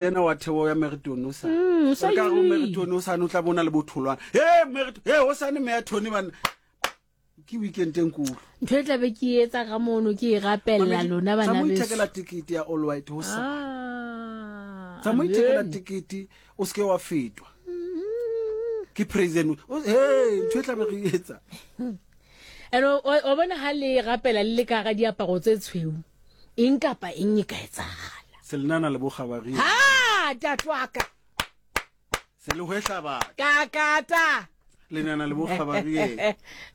Ena wa theo ya Meriton o sa. Mm, o sa Re ka re nyolohile. Meriton o sane o tla bona le botholwana. He Meriton, he o sane me ya Tony bana. Ke weekend e nkulu. Ntho e tlabe ke e etsa ka mono ke e rapella lona bana Tsa mo beso. ithekela tikete ya All White ho sa. Ah, Tsa mo ithekela amen. tikete o seke wa fetwa. Ke praise and he ntho e tlabe re e etsa. And o o bona ha le rapela le le ka ga diaparo tse tshweu. Eng kapa eng e ka etsahala. Selenana le bokgabari. Ha, ntate wa ka. Se le hwehla batho. Ka kata. Lenana le bokgabari.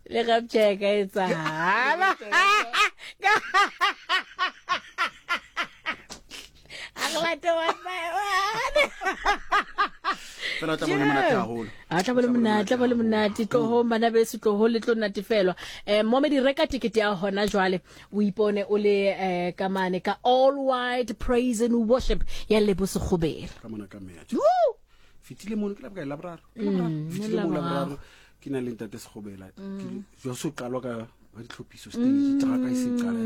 Le rapture e ka etsahala. A re late one by one. Fela o tla bone monate haholo. A tla bone monate, tla bone monate. Tlohong bana beso, tlohong le tlo natefelwa. Eh momedi reka tikete ya hona jwale. O ipone o le eh, ka mane ka All White Praise and Worship ya Lebo Sekgobela. Ka mona ka meya. Woo! Fitile mono ke la bokae laboraro. Ke laboraro. Fitile mo laboraro. laboraro ke na le ntate Sekgobela. Ke jwa so qalwa ka ba ditlhophiso stage traka e se qala.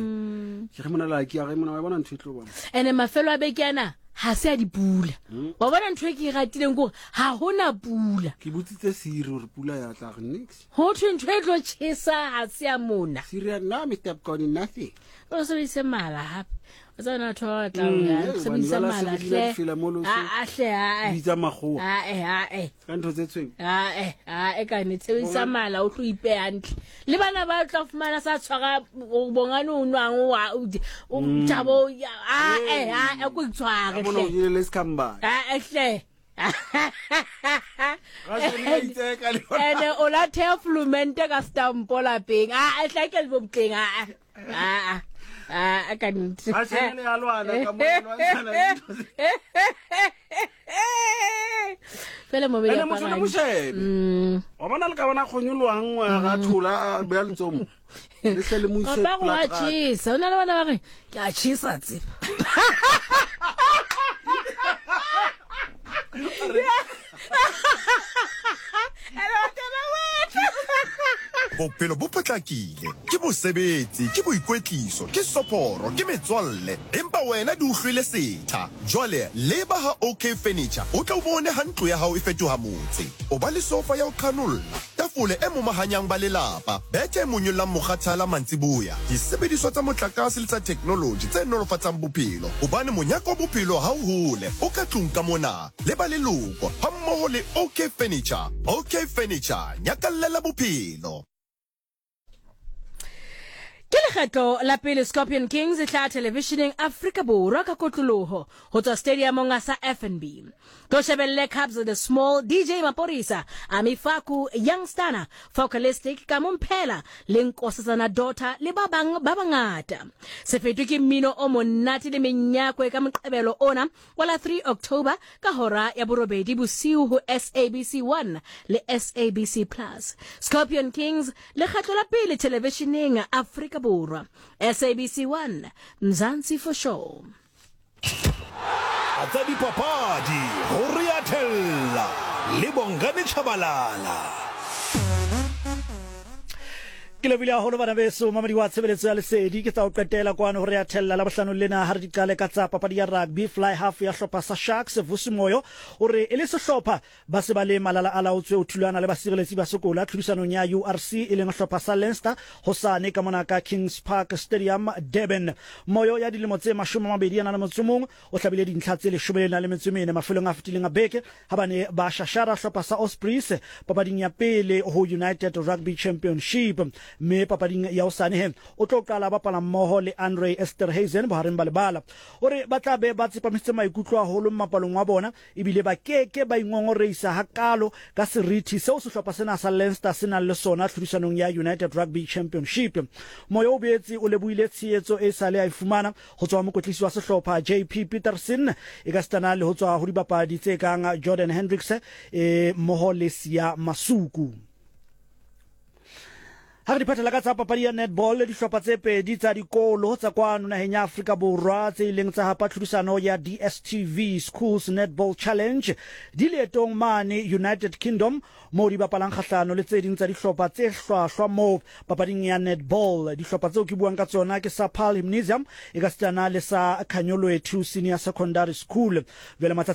Ke re mona la ke a re mona wa bona ntho e tlo bona. Ene mafelo a beke ana ha se a dipula. Wa bona ntho e ke e ratileng ke gore ha hona pula. Ke botsitse Siri hore pula ya tla re nix. Ho thwe ntho e tlo tjhesa ha se ya mona. Siri no Mr. Bkoni nothing. O sebedise mala hape. O tseba na batho ba batlang Mm, ho ya, eh, hobane sebedisa jwale ha mala se re dula hle. difela mo le o se- A a hle a Bitsa makgowa a a a ka ntho tse tshweu. a a ka ne sebedisa mala o tlo ipeha hantle. Le bana ba tla fumana sa tshwara o bongane o nwang o wa o o thabo a a a ko itshware Ka mona o hle. jele le sekhambane. A a hle. Ene o la thea flumente ka stampo lapeng. A a hle ke bo botleng a a. A a ka nnete. Fela mo Ene motho le moshebe. Wa bona le ka bona kgonyoloang ga thola a beya letsomo. Le hle le mo ise Papa go a pela tjhesa. O na le bana ba re ke a tjhesa tseba. Bophelo bo potlakile, ke mosebetsi, ke boikwetliso, ke soporo, ke metswalle, empa wena di o hlwele setha. Jwale leba ha OK Furniture o tle o bone ha ntlo ya hao e fetoha motse. O ba le sofa ya ho qhanolla, tafole e momahanyang ba lelapa, bethe e monyollang mokgathala mantsiboya, disebediswa tsa motlakase le tsa theknoloji tse nolofatsang bophelo, hobane monyaka wa bophelo ha o hole, o ka tlung ka mona le ba leloko hammoho le OK Furniture. OK Furniture, nyakallela bophelo. Ke lekgetlo la pele Scorpion Kings e hlaha thelevisheneng Afrika Borwa ka kotloloho ho tswa stadiumong sa FNB. Tlo shebelle Cubs the Small, DJ Maporisa, Ami Faku, Young Stunna, Focalistic, Kamo Mphela le Nkosazana Daughter le ba bang ba bangata. Se fetwe ke mmino o monate le menyakwe ka Moqebelo ona wa la 3 October ka hora ya borobedi bosiu ho SABC 1 le SABC Plus. Scorpion Kings, lekgetlo la pele thelevisheneng Afrika Borwa. SABC 1, Mzansi for sure. Tsa dipapadi go re a thella le Bongani Tshabalala. Ke lebile haholo bana beso, mamedi wa tshebeletso ya Lesedi. Ke tsa ho qetela kwano ho re a thella Labohlano lena ha re di qale ka tsa papadi ya rugby. Fly half ya hlopha sa Sharks, Vusi Moyo, o re e le sehlopha ba se ba le malala a laotswe ho thulana le basireletsi ba sekola tlhodisanong ya URC e leng hlopha sa Leinster hosane ka mona ka Kings Park Stadium, Durban. Moyo ya dilemo tse 21 o hlabile dintlha tse 14 mafelong a fetileng a beke ha ba ne ba shashara hlopha sa Ospreys papading ya pele ho United Rugby Championship. Mme papading ya hosane he o tlo qala bapala mmoho le Andre Esterhuizen bohareng ba lebala. O re ba tla be ba tsepamisitse maikutlo haholo mmapalong wa bona ebile ba ke ke ba ingongoreisa hakaalo ka serithi seo sehlopha sena sa Leinster se nang le sona tlhodisanong ya United Rugby Championship. Moyo o boetse o lebohile tshehetso e sale a e fumana ho tswa ho mokwetlisi wa sehlopha JP Pietersen ekasitana le ho tswa ho dibapadi tse kang Jordan Hendrikse e mmoho le Siya Masuku. Ha re di phethela ka tsa papadi ya netball, dihlopha tse pedi tsa dikolo tsa kwano naheng ya Afrika Borwa tse ileng tsa hapa tlhodisano ya DStv Schools Netball Challenge di leetong mane United Kingdom moo di bapalang kgahlano le tse ding tsa dihlopha tse hlwahlwa moo papading ya netball. Dihlopha tseo ke buang ka tsona ke sa Paarl Gymnasium ekasitana le sa Khanyolwethu Senior Secondary School. Jwale matsatsi.